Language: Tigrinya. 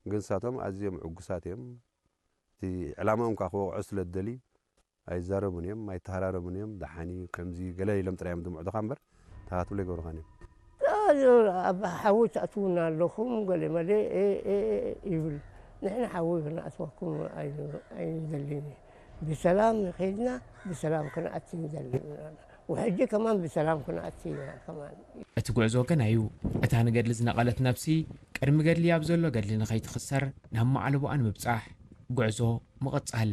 ግን ንሳቶም ኣዝዮም ዕጉሳት እዮም። እቲ ዕላማኦም ከዓ ክወቕዖ ስለ ዝደልዩ ኣይዛረቡን እዮም፣ ኣይተሃራረቡን እዮም። ደሓን እዩ ከምዚ ገለ ኢሎም ጥራይ እዮም ዝምዕዱኻ እምበር ተኻትሎ ኣይገብሩኻን እዮም። ኣብ ሓዊ ትኣትውና ኣለኹም ገለ መለ ይብል። ንሕና ሓዊ ክንኣትወኩም ኣይንደልን። ብሰላም ንኸይድና ብሰላም ክንኣቲ ንደሊ። ውሕጂ ከማን ብሰላም ክንኣቲ ኢና ከማን። እቲ ጉዕዞ ገና እዩ። እታ ንገድሊ ዝነቐለት ነብሲ ቅድሚ ገድሊ ኣብ ዘሎ ገድሊ ንኸይትኽሰር ናብ ማዕለቦኣ ንምብጻሕ ጉዕዞ ምቕጻል።